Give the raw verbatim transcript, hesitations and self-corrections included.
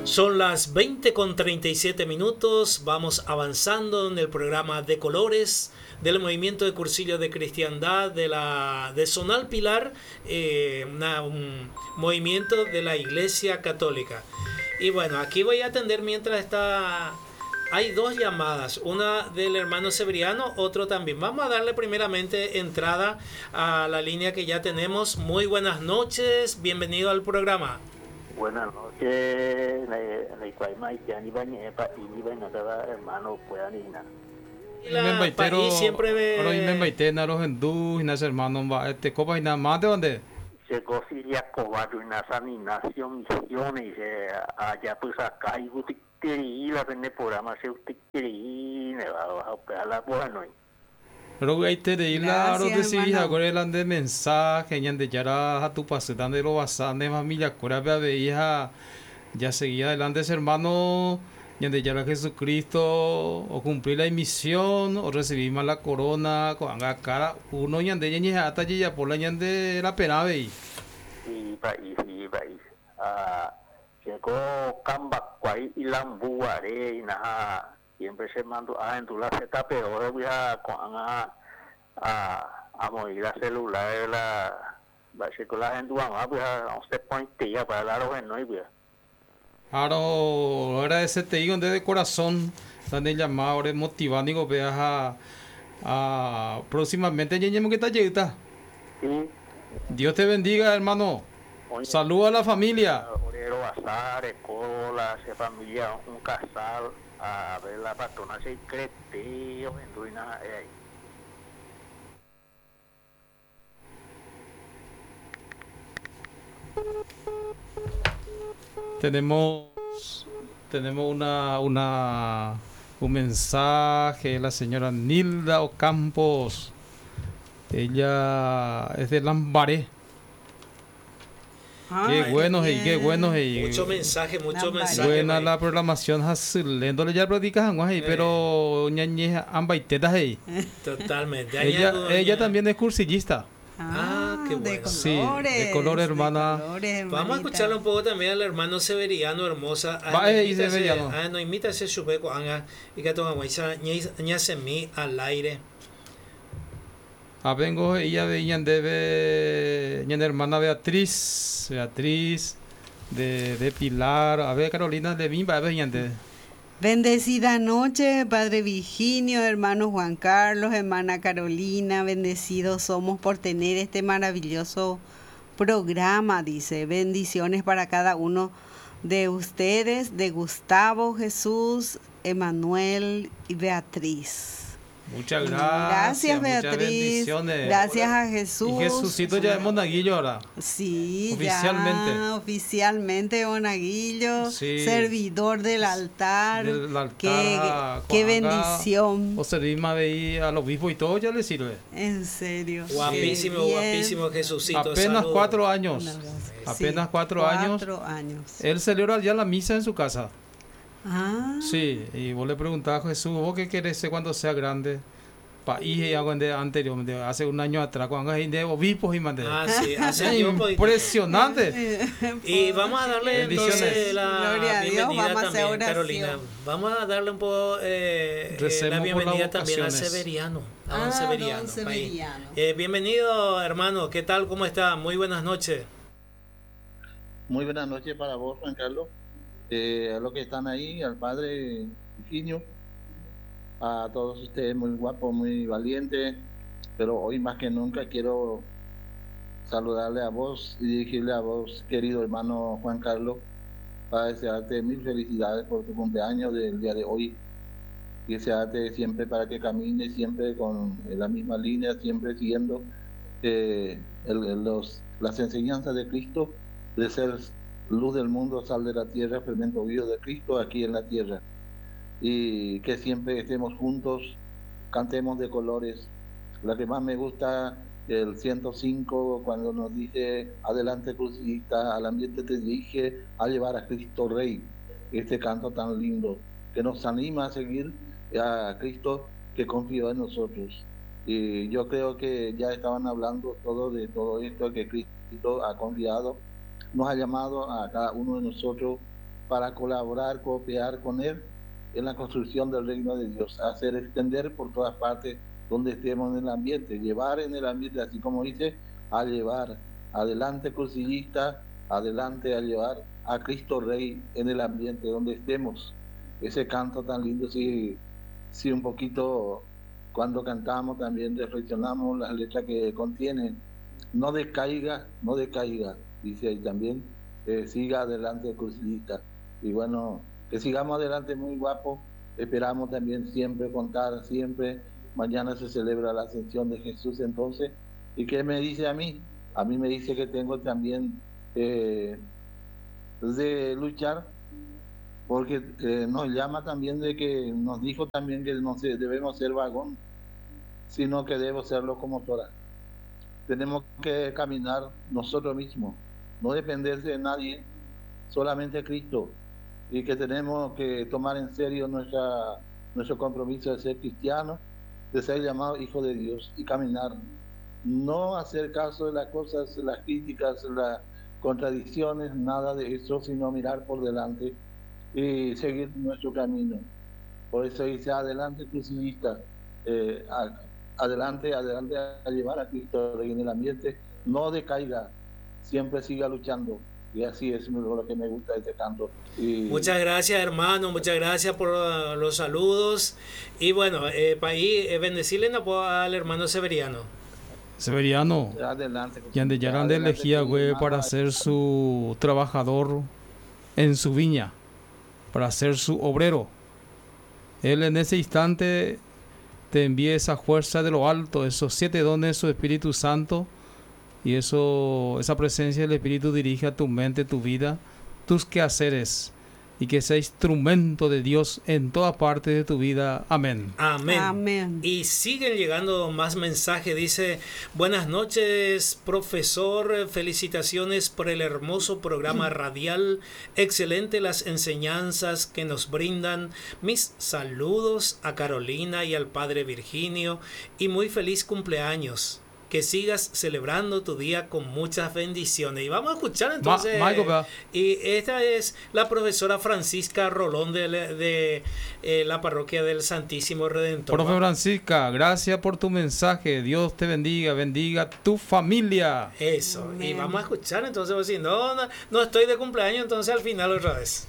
Son las veinte con treinta y siete minutos, vamos avanzando en el programa de colores del movimiento de cursillo de cristiandad de la de Zonal Pilar, eh, una, un movimiento de la Iglesia Católica. Y bueno, aquí voy a atender mientras está... Hay dos llamadas, una del hermano Severiano, otro también. Vamos a darle primeramente entrada a la línea que ya tenemos. Muy buenas noches, bienvenido al programa. Buenas noches, La país siempre ve. Hermano, este copa y nada más de dónde. Llegó Siria Cobardo en San Ignacio Misiones, allá pues acá y usted quiere ir a vender programa, si usted quiere ir, me va a operar la buena. Pero ahí te de la de si ahora el de mensaje, ñande ya era a tu pase, de lo basande familia, cura veía ya seguía adelante ese hermano, ñande ya era Jesucristo, o cumplir la misión, o recibir más la corona, con cara uno ñande ñe hasta ya por la ñande la pena ve. Sí, país, sí, país. Ah, llegó Cambacuay y Lambuaré y nada. Siempre se mandó a en tu la Z, pero ahora voy a a a a mover la celular la va a ser con la gente va pues a once point ya para la los no y pues. Ahora agradecerte digo de corazón donde llamado ahora motivando digo veas a a próximamente ñeñemo que está llegando. Sí. Dios te bendiga, hermano. Saludos a la familia. Orero Azar, Cola, familia, un casal. A ver la patrona se crete en ruina ahí. Tenemos tenemos una una un mensaje de la señora Nilda Ocampos. Ella es de Lambaré. Ah, qué bueno, y qué bueno. Y mucho mensaje, mucho mensaje. Buena la programación, lendo ya practicas, eh. pero ñañe ambaitetas ahí. Totalmente. Ella, ella también es cursillista. Ah, ah, qué bueno. De colores, sí, de color, hermana. De colores, Vamos a escucharlo un poco también al hermano Severiano Hermosa. Va, eh, Severiano. Ah, no imita ese chupeco, anga, y que toma guaysa, ña al aire. Ah, vengo, ella veía debe, ña hermana Beatriz, Beatriz de, de Pilar, a ver Carolina de Bimba, a ver ñande. Bendecida noche, Padre Virginio, hermano Juan Carlos, hermana Carolina, bendecidos somos por tener este maravilloso programa, dice. Bendiciones para cada uno de ustedes, de Gustavo, Jesús, Emanuel y Beatriz. Muchas gracias. Gracias, Beatriz. Gracias a Jesús. Y Jesucito ya es monaguillo ahora. Sí, oficialmente. Ya, oficialmente monaguillo, sí. Servidor del altar. Del altar. Qué, qué bendición. O servir más de al obispo y todo ya le sirve. En serio. Guapísimo, guapísimo Jesucito. Apenas saludo. cuatro años. Apenas sí, cuatro, cuatro años. Cuatro años. Él celebra ya la misa en su casa. Ah. Sí, y vos le preguntabas a Jesús, ¿vos qué querés ser cuando sea grande? País y algo anterior, hace un año atrás, cuando hay de obispos y mandé. Ah, sí, hace tiempo. Impresionante. Y vamos a darle entonces la Gloria a Dios, bienvenida vamos a hacer también, oración. Carolina. Vamos a darle un poco eh, eh, la bienvenida también a Severiano. A don Ah, Severiano. don Severiano. Eh, bienvenido, hermano. ¿Qué tal? ¿Cómo está? Muy buenas noches. Muy buenas noches para vos, Juan Carlos. Eh, a los que están ahí, al padre Virginio, a todos ustedes muy guapos, muy valientes, pero hoy más que nunca quiero saludarle a vos y dirigirle a vos, querido hermano Juan Carlos, para desearte mil felicidades por tu cumpleaños del día de hoy y desearte siempre para que camines siempre con la misma línea, siempre siguiendo eh, el, el, los, las enseñanzas de Cristo, de ser luz del mundo, sal de la tierra, fermento vivo de Cristo aquí en la tierra. Y que siempre estemos juntos, cantemos de colores. La que más me gusta, el ciento cinco, cuando nos dice, adelante crucista, al ambiente te dirige a llevar a Cristo Rey. Este canto tan lindo, que nos anima a seguir a Cristo que confió en nosotros. Y yo creo que ya estaban hablando todo de todo esto, que Cristo ha confiado, nos ha llamado a cada uno de nosotros para colaborar, cooperar con Él en la construcción del reino de Dios, hacer extender por todas partes donde estemos en el ambiente, llevar en el ambiente, así como dice, a llevar adelante cursillista, adelante a llevar a Cristo Rey en el ambiente donde estemos. Ese canto tan lindo, si, si un poquito cuando cantamos también reflexionamos las letras que contienen. No decaiga, no decaiga, dice ahí también, eh, siga adelante cursillista. Y bueno, que sigamos adelante muy guapo, esperamos también siempre contar, siempre, mañana se celebra la ascensión de Jesús entonces. ¿Y qué me dice a mí? A mí me dice que tengo también eh, de luchar, porque eh, nos llama también de que nos dijo también que no debemos ser vagón, sino que debo ser locomotora. Tenemos que caminar nosotros mismos, no dependerse de nadie, solamente Cristo, y que tenemos que tomar en serio nuestra, nuestro compromiso de ser cristiano, de ser llamado hijo de Dios y caminar. No hacer caso de las cosas, las críticas, las contradicciones, nada de eso, sino mirar por delante y seguir nuestro camino. Por eso dice, adelante crucifista, eh, adelante, adelante a llevar a Cristo en el ambiente, no decaiga, siempre siga luchando. Y así es lo que me gusta de este canto. Y... Muchas gracias, hermano, muchas gracias por uh, los saludos. Y bueno, eh, país, eh, bendecirle al hermano Severiano. Severiano, adelante. Ñandejára elegía güey para ser su trabajador en su viña, para ser su obrero. Él en ese instante te envía esa fuerza de lo alto, esos siete dones de su Espíritu Santo, y eso, esa presencia del Espíritu dirige a tu mente, tu vida, tus quehaceres, y que sea instrumento de Dios en toda parte de tu vida. Amén. Amén. Amén. Y siguen llegando más mensajes. Dice, buenas noches, profesor. Felicitaciones por el hermoso programa radial. Excelente las enseñanzas que nos brindan. Mis saludos a Carolina y al padre Virginio. Y muy feliz cumpleaños. Que sigas celebrando tu día con muchas bendiciones. Y vamos a escuchar entonces. Ma Michael, y esta es la profesora Francisca Rolón de, de eh, la parroquia del Santísimo Redentor. Profe Francisca, gracias por tu mensaje. Dios te bendiga, bendiga tu familia. Eso. Amén. Y vamos a escuchar entonces. Si no, no, no estoy de cumpleaños, entonces al final otra vez.